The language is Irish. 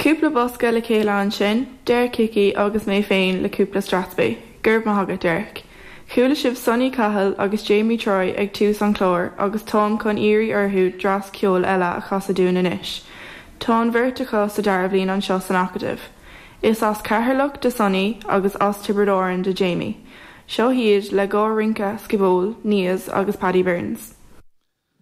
Cúpla bosca le chéile ansin, Derek Hickey agus mé féin le cúpla strathspey. Go raibh maith agat, Derek. Chuala sibh Sonny Cahill agus Jamie Troy ag tús an chláir agus táim chun iarraidh orthu dreas ceoil eile a chasadh dúinn anois. Tá an bheirt acu sa dara bhliain anseo san Acadamh. Is as Ceatharlach do Sonny agus as Tiobraid Árann do Jamie. Seo iad le dhá rince scioból, Kneas agus Paddy Burns.